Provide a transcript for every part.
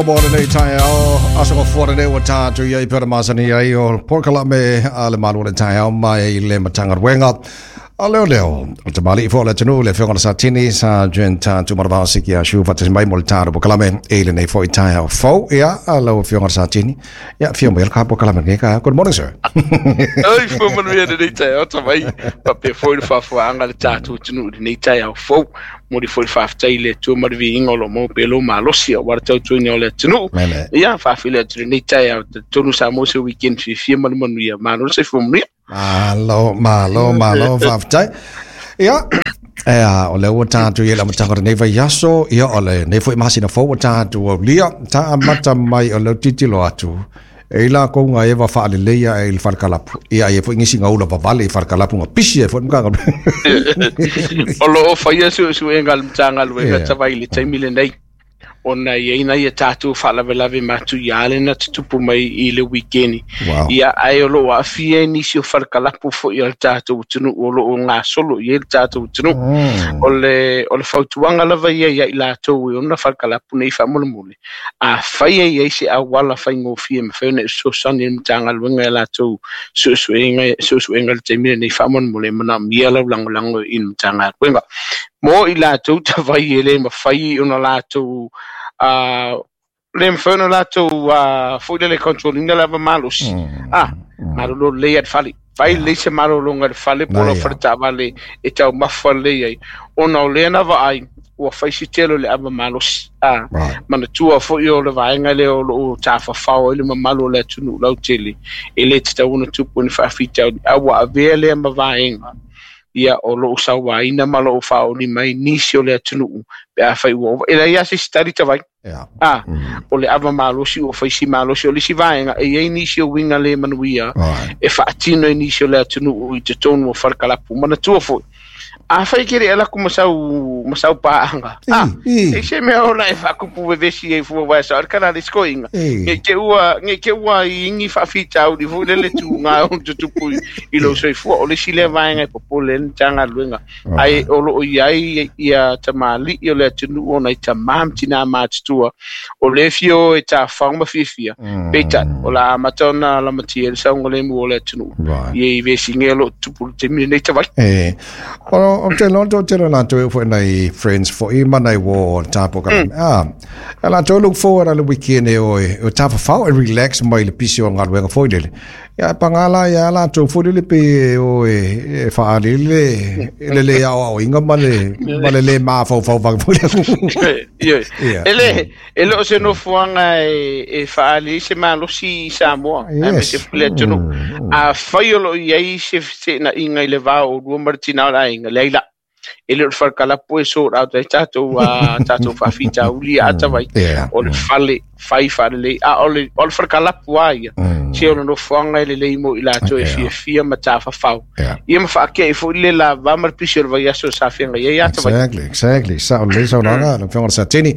Mo lenei taeao, aso gafua lenei ua tatou i ai pei ona masani ai o polokalame a le Malo o le Taeao mai le Matagaluega a Leoleo. O le tamalii foi o le atunuu le Afioga i le Satini Sergeant Tuimalealiifano Siki Ah Shu faatasi mai mo le tatou polokalame i lenei foi taeao fou. Ia, lau Afioga i le Satini, ia afio mai le ka polokalame lenei taeao. Good morning, sir. Oi, fua manuia lenei taeao tavai, faapea foi le faafofoga a le tatou atunuu i lenei taeao fou. Momoli foi le faafetai i le Atua ma le viiga o lo o maua pea lou malosi aua le tautuaina o le atunuu. Ia, faafeiloai atu i lenei taeao, talitonu sa maua se weekend fiafia ma le manuia. Malo le soifua manuia. Malo, malo, malo, faafetai. Ia, o lea ua tatou i ai i le amataga o lenei vaiaso, ia o lenei foi masina fou ua tatou aulia, ta amata mai o lea ou te tilotilo atu, E i lakou nga eva faaleleia ai i le falekalapu, ia e i ai foi nisi nga ula vavale i falekalapu nga pisi ai foi le Matagaluega. O lo o faia suesuega a le Matagaluega tavai i le taimi lenei, ona e i ai nai a tatou faalavelave matuia lea na tutupu mai i le wikeni. Ia, ae o lo o aafia ai nisi o falekalapu foi a le tatou atunuu o lo o gasolo i ai le tatou atunuu. O le, o le fautuaga lava ia ia i latou e ona falekalapu nei faamolemole, Afai e i ai se auala faigofie e mafai ona e fesoasoani i le Matagaluega i a latou suesuega suesuega i le taimi lenei, faamolemole e manaomia lau lagolago i le Matagaluega. Mo i latou tavai e le mafai ona latou le mafai ona latou foi lele control ina le ava malosi, malolo lelei lava i le fale. Fai lelei se malologa i le fale po o lau faletaavale e taumafa lelei ai, ona o lea na vaai ua fai si tele o le ava malosi. A, manatua foi o le vaega lea o lo o tafafao ai le mamalu o le atunuu lautele, e le tatau ona tupu ni faafitauli, a ua avea lea ma vaega ia o lo o sauaina ma lo o faaoli mai nisi o le atunuu pe afai ua ova. E leai lava se isi tali tavai. A, o le ava malosi ua fai si malosi. O le isi vaega, e i ai nisi o uiga le manuia e faatino e nisi o le atunuu i totonu o falekalapu. Manatua foi, afai e te le i alu atu ma sau, ma sau paaga, a, e se mea ona e faakupu vevesi ai fua wae sao le kana le sikoiga. Nei te ua, nei te ua i ni faafitauli foi lele tuga o tutupu i lou soifua. O le isi lea vaega e popole ai le Matagaluega. Ae o lo o i ai ia tamalii o le atunuu o nai tamā ma tinā matutua o lea e fia o e tafafao ma fiafia, peitai, o le a amata ona lamatia ai le saogalemu o le atunuu i i vesiga o lo o tutupu i le taimi lenei tavai. E, o te loa to tele latou e foi nai friends foi ma nai uō o le tapo ka ah, e latou look forward a le weekend e o e o tafafao e relax mai le pisi o galuega foi lele. Ia, e pagā la iā latou foi lele pei e o e faaali le, le lē aoaoina ma le, ma le lē mafaufau vave foi lea. Ioe. Ia. E le, e le o se nofoaga e, e faaali ai se malosi i Samoa, yes. aemaise foi le atunuu. Afai o lo o i ai se feteenaiga i le va o oulua ma le tina o le aiga, leai la. E le o le falekalapu e sort out ai tatou tatou faafitauli a tavai. O le fale fai faalelei, a o le, o le falekalapu lava ia, se o le nofoaga e lelei mo i latou e fiafia ma tafafao. Ia ma faate'i foi le lava ma le pisi o le vaiaso sa feagai ai a tavai. Exactly, exactly. Sao lelei saunoaga, lau Afioga i le Satini.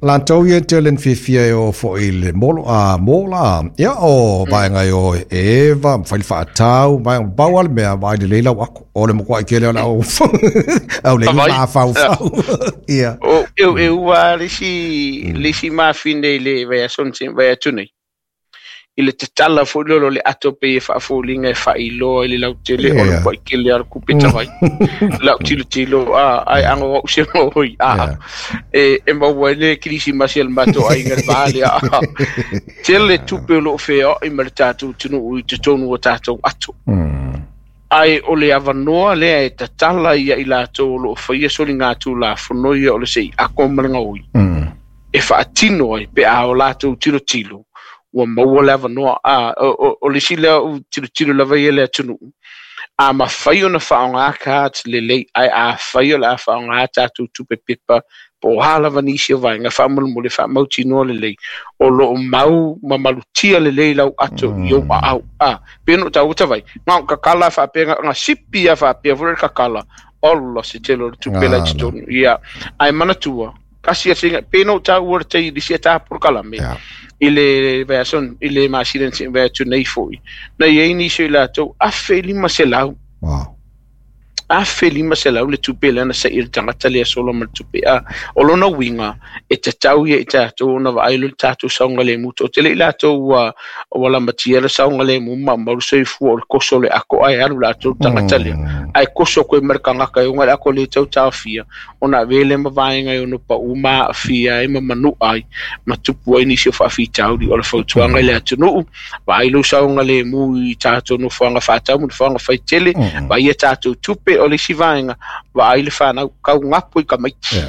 Latou ia tele na fiafia e o foi i le molo, a mola, ia o vaega e o e eva, ma fai le faatau, vaega, pau lava le mea, vaai lelei lau ako, o le matuai tele o le au, au le Tavai. mafaufau. Ia. O, eu, eu ua le isi, le isi mafine i le vaiaso na tea, vai atu nei. I le tatala foi lea o le ato pei e faafoliga e faailoa i le lautele o le matua tele lava o le kupe tavai. Lau tilotilo a ae ago au se moi a e maua ai le kerisimasi a le matou aiga i le va lea. Tele tupe o lo o feoai ma le tatou atunuu i totonu o tatou ato. Ae o le avanoa lea e tatala ia i latou o lo o faia soligatulafono ia o le sei ako ma le gaoi. E faatino ai pe a o latou tilotilo ua maua le avanoa. A, o, o, o le isi lea ou tilotilo lava ia i le atunuu, a mafai ona faaaoga cards lelei, ae afai o le a faaaoga tatou tupe pepa po o a lava nisi o vaega, faamolemole faamautinoa lelei o lo o mau ma malutia lelei lau ato i ou aao. A, pei ona ou taua tavai, na o kakala faapea, na sipi lava faapea foi le kakala, ola se tele o le tupe la i totonu. Ia, ae manatua, kasi atu pe no taua le tai lisi ta polokalame i le vaiaso i le masina na vai atu nei foi na i ai nisi o i latou 1500. Wow. 1,500 le tupe lea na se'i e le tagata lea sola ma le tupe a o lona uiga e tatau ia i tatou ona vaai loa le tatou saogalemu toatele i latou ua ua lamatia le saogalemu ma maumau le soifua o le koso o le ako ae alu latou le tagata lea ae koso koe ma le tagata e oga le ako le tau taofia ona avea lea ma vaega e ono pa'u ma aafia ai ma manu'a ai ma tupu ai nisi o faafitauli o le fautuaga i le atunu'u vaai lou saogalemu i tatou nofoaga faatau ma nofoaga faitele vaai a tatou tupe o le isi vaega vaai le fanau kaugapo i tamaiti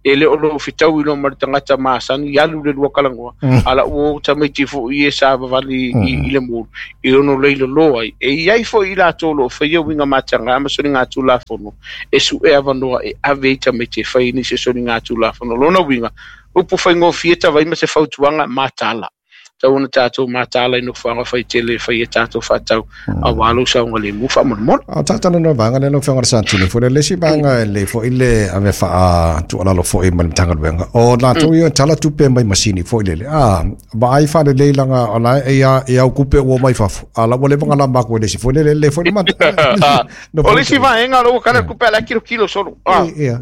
e le o lou fetaui loa ma le tagata masani alu le lua talanoa a la ua o tamaiti fo'i e savavali i le mulu e ono leilolo ai e iai fo'i i latou o lo'o faia uiga matagā ma soligatulafono e su'e avanoa e ave ai tamaiti e fai nisi o soligatulafono lona uiga upu faigofie tavai ma se fautuaga mataala tau ona tatou mataala i nofoaga faitele e fai ai tatou faatau auā lou saogalemu faamolemole. A o talanoa vaega lea lau Afioga i le Satini foi le isi vaega e lelei foi le ave faatuualalo foi mai le Matagaluega o latou ia tala tupe mai masini foi lele a vaai faalelei laga o la e ia e au kupe ua mai fafo a la ua leva ona lama atu e le isi foi lele le foi le O le isi vaega o ua kala kupe ala kilokilo solo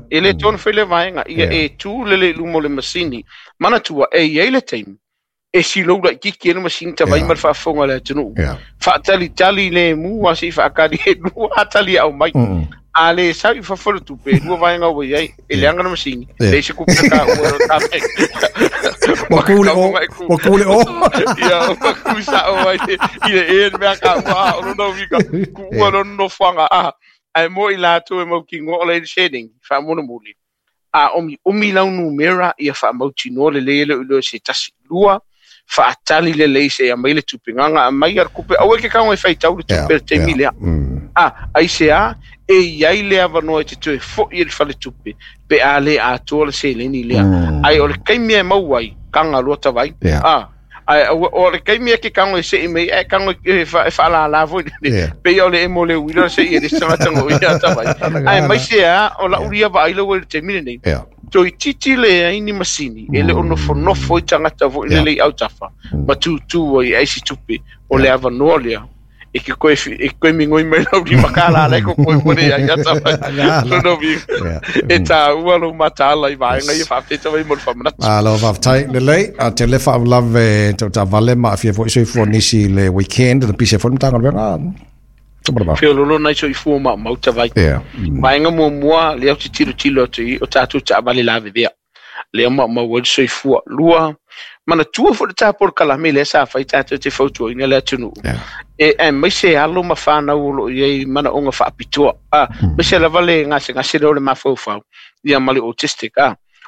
e le tonu foi le vaega ia e tu lele i luma o le masini manatua e i ai le taimi e silou laitiiti ai le masini tavai ma le faafofoga a le atunuu faatalitali lemu a se'i faatali e lua a tali e aumai a lē sau i fafo le tupe e lua vaega ua iai e leaga le masini leai se kupe taua ua ku le o ua ku le o ia ua ku sa'o ai i le e le mea taua a o lona uiga kuua lona nofoaga a ae mo i latou e mautinoa o le seleni faamolemole a omiomi lau numera ia faamautinoa lelei e le o iloa se tasi lua faatali lelei se aumai le tupe gaga aumai a le tupe aua e ke tago e faitau le tupe le taimi lea a aisea e iai le avanoa e te toe fo'i e le faletupe pe a lē atoa le seleni lea ae o le taimi e maua ai taga loa tavai a ae o le taimi e ke tago e se'i mai ae tago e faalālā foi pei o le emo le uila se'i e le isi tagata go ia tavai ae mai se a o la'u lia vaai lau i le taimi lenei toeitiiti leai ni masini e le o nofonofo i tagata foi lelei autafa ma tutū ai e aisi tupe o le avanoa lea e ke koe e koe migoi mai lau lima kālā lai ko koe mo le ai ata mai. Lona uiga e tāua lou mataala i vaega ia faafetaia mai mo le faamanatu. Malo faafetai lelei a te le faalavelave tau taavale ma aafia foi soifua nisi i le weekend na pisi ai foi le Matagaluega. Feololo nai soifua maumau tavai. Vaega muamua lea ou te tilotilo atu i o tatou taavale lavevea. Lea maumau ai le soifua. Lua, manatua foi le tapolokalame lea sa fai tatou te fautuaina le atunuu. E aemaise alo ma fanau o loo i ai manaoga faapitoa. Aemaise lava le gasegase lea o le mafaufau ia ma le autistic.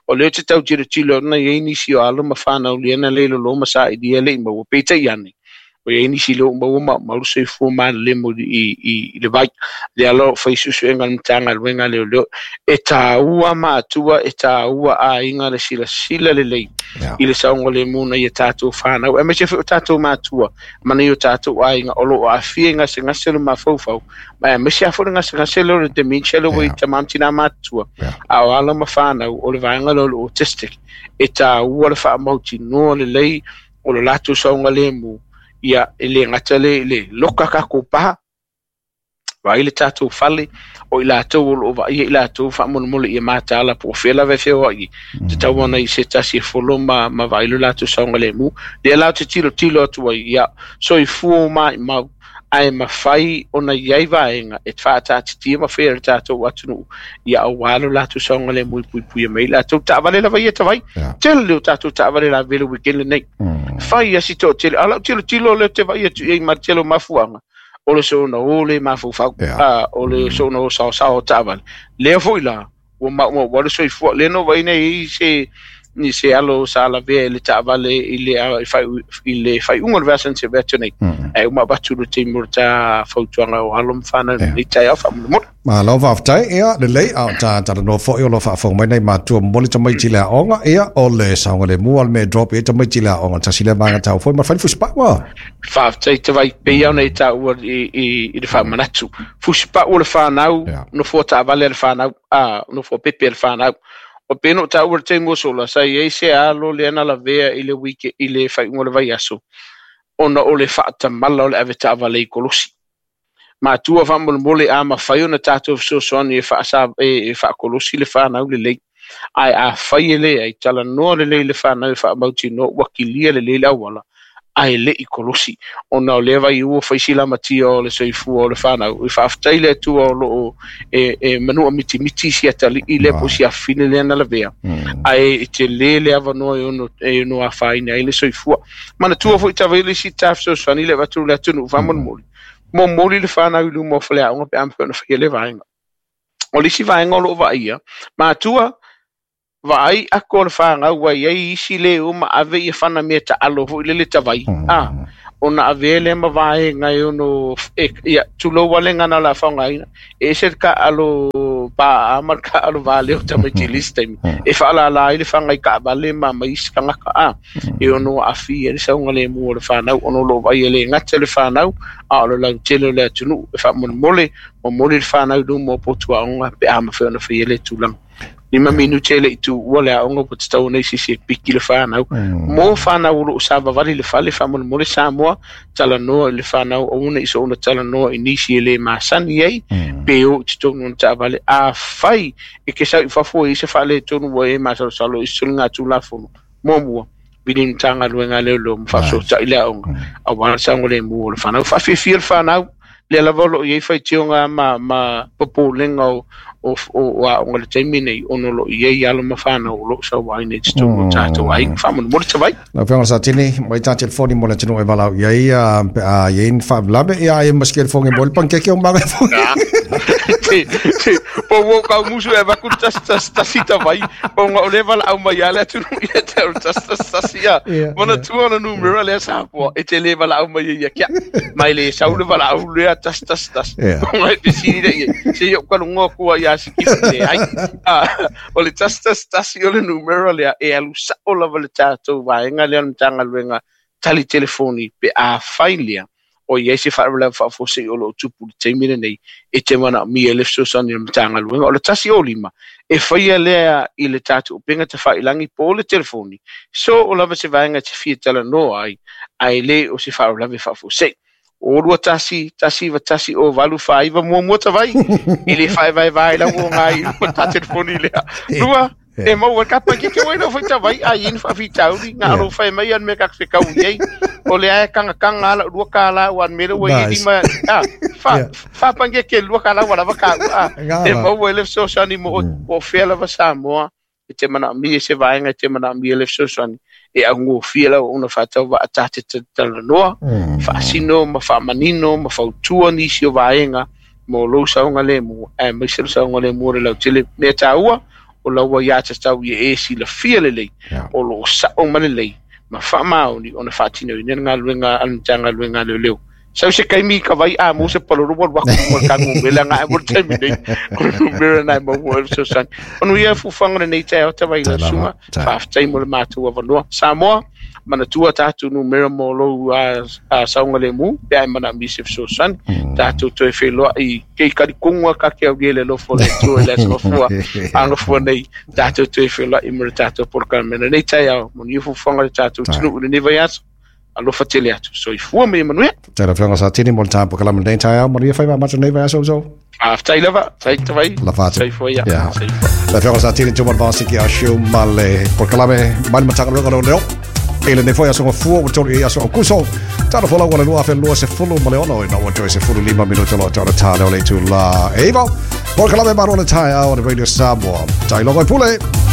O lea ou te tau tilotilo na i ai nisi o alo ma fanau lea na le lolo ma sailia le i maua. Peitai ane, o i ai nisi lea ua maua maumau le soifua malelemo i le vai. Lea la o fai suesuega a le Matagaluega a Leoleo. E tāua matua, e tāua aiga le silasila lelei i le saogalemu na ia tatou fanau. Aemaise foi o tatou matua ma nai o tatou aiga o loo aafia i gasegase o le mafaufau. Ma aemaise lava foi le gasegase lea o le dementia lea ua i tama ma tinā matutua. A o alo ma fanau o le vaega lea o le autistic. E tāua le faamautinoa lelei o le latou saogalemu ia e le gata le le loka tatou pa vaai le tatou fale o i latou o loo vaaia i latou faamolemole ia mataala po o fea lava e feoai tatau ona i se tasi e folo ma vaai lo latou saogalemu lea la ou te tilotilo atu ai ia soifua maimau ae mafai ona iai vaega e faataatitia ma faia e le tatou atunuu ia auā lo latou saogalemu e puipuia mai latou taavale lava ia tavai tele o tatou taavale lavevea le weekend lenei fai asi toatele a lau tilotilo lea ou te vaai atu i ai ma le tele o mafuaaga o le soona o le mafaufau o le soona o saosao o taavale lea foi la ua maumau ai le soifua lea na vaai nei i se ni se alo sa lavea i le taavale i le i le faaiuga o le vaiaso na tea atu nei ae uma avatu le taimi o le ta fautuaga o alo ma fanau i taeao faamolemole. Malo faafetai, ia lelei, a o ta talanoa foi o lo o faafofoga mai nai matua momoli tamaiti i le aoga, ia o le saogalemu lava le mea e drop i ai tamaiti i le aoga, tasi lea vaega taua foi ma fai le fusipau a. Faafetai tavai pei ona e taua i le faamanatu. Fusipau o le fanau, nofoa taavale a le fanau, nofoa pepe a le fanau. O pei ona ou taua i le taimi ua sola, sa i ai se alo lea na lavea i le week i le faaiuga o le vaiaso, ona o le faatamala o le ave taavale i kolosi. Matua faamolemole a mafai ona tatou fesoasoani e faasa e faakolosi le fanau lelei. Ae afai e leai, talanoa lelei le fanau e faamautinoa ua kilia lelei le auala, ae le'i kolosi. Ona o lea vai ua faisi lamatia o le soifua o le fanau. E faafetai le Atua o loo e manua mitimiti si atali'i lea po o si afafine lea na lavea. Ae e tele le avanoa e ono afaina ai le soifua. Manatua foi tavaile isi ta fesoasoani le avatu le atunuu faamolemole. Momoli le fanau i luma o faleaoga pe a mafai ona faia le vaega. O le isi vaega o loo vaaia, matua vaai ako o le fanau ua iai isi le o ma ave ia fana mea taalo foi lele tavai. Ona ave le ma vaega e ono ia tulou walenga na la faogaina. E ese le kaalo pa a ma le kaalo vale o tamaiti le isi taimi. E faalala ai le faga i kaavale ma ma isi tagata a. E ono aafia ai le saogalemu o le fanau ona o loo vaaia le gata le fanau a o le lautele o le atunuu e faamolemole momoli le fanau i luma o potuaoga pe a mafai ona faia le tulaga. 5 minute le i tuua le aoga ua tatau ona isi e piki le fanau. Mo fanau o loo savavali le fale faamolemole Samoa, talanoa i le fanau aua ne i soona talanoa i nisi e le masani ai, pe o i totonu o na taavale. Afai e ke sau i fafo e i se faaletonu ua e masalosalo i se soligatulafono. Muamua, vili ni Matagaluega a Leoleo ma faafesootai le aoga, aua le saogalemu o le fanau. Faafiafia le fanau, lea lava o loo iai faitioga ma popolega o aoga i le taimi nei, ona o loo iai alo ma fanau o loo sauaina i totonu o tatou aiga. Faamolemole tavai. Lau Afioga Satini, mai tā telefoni mo le atunuu e valaau i ai, pe a i ai ni faalavelave, ia ai ma se telefoni mo le pankeke o maga fo. Po ua kau musu e avaku le tasi tasi tasi tavai, ona o le valaau mai a le atunuu ia te au le tasi tasi tasi ia. Manatua ona numera lea Samoa, e te le valaau mai ai ia kia. Mai le sau le valaau lea tasi tasi tasi. Ona e fesili lea i ai, se i ou kalugoa kua ia Sikifu leai. O le tasi tasi tasi o le numera lea e alu sao lava le tatou vaega lea o le Matagaluega tali telefoni pe afai lea o i ai se faalavelave faafuasei o loo tupu i le taimi lenei e te manaomia ai le fesoasoani a le Matagaluega. O le 105 e faia lea i le tatou upega tafailagi po o le telefoni, so o lava se vaega e te fia talanoa ai, ae le o se faalavelave faafuasei. O 21 191 o 8 4 9 muamua tavai, e le faevaevae lau o ngā i luma tā telefoni lea. Lua, e maua ka pa ke wai no foi tavai a yin fa fi tauri ngā ro whai mai an me ka whekau i ei. O le ae kanga kanga ala lua ka la wan me le wai lima a fa fa pange ke lua ka la wala ka a e maua le fesoasoani mo o fea lava Samoa e te manaomia se vaega e te manaomia le fesoasoani e augofie lau ona faatau vaatate talanoa faasino ma faamanino ma fautua nisi o vaega mo lou saogalemu aemaise le saogalemu o le lautele. Mea taua o laua ia tatau ia e silafia lelei o loo sao ma lelei ma faamaoni ona faatinoina le galuega a le Matagaluega a Leoleo. Sau se kaimi ka vai a mo se palolo wa waku mo ka ngumela nga mo taimi nei o numera nai mo mo fesoasoani. Onu ia fuafuaga lenei taeao tavai la susuga, faafetai mo le matou avanoa. Samoa, manatua tatou numera mo lou saogalemu pe a e manaomia se fesoasoani. Tatou toe feloai ke i kalikonga ka ke au le alofa o le Atua i le aso gafua agafua nei. Tatou toe feloai mo le tatou polokalame lenei taeao. Manuia fuafuaga o le tatou atunuu i lenei vaiaso. Alofa tele atu. Soifua ma ia manuia. Tēnā Afioga Satini mo le tā polokalame lenei taeao. Manuia whai mā nei vaiaso uso. Faafetai lava, tai tavai. Lafa atu. Soifua ia. Soifua. Le Afioga Satini Tuma Vasiki a Shiu ma le polokalame mai le Matagaluega o Leoleo. E lenei foi aso gafua ua tolu i aso Aukuso. Tala folau o le 2026 i na ua toe 15 minuta loa tau le tā leo le itulā e iva. Polokalame malo le taeao o le Radio Samoa. Tai logo e pule.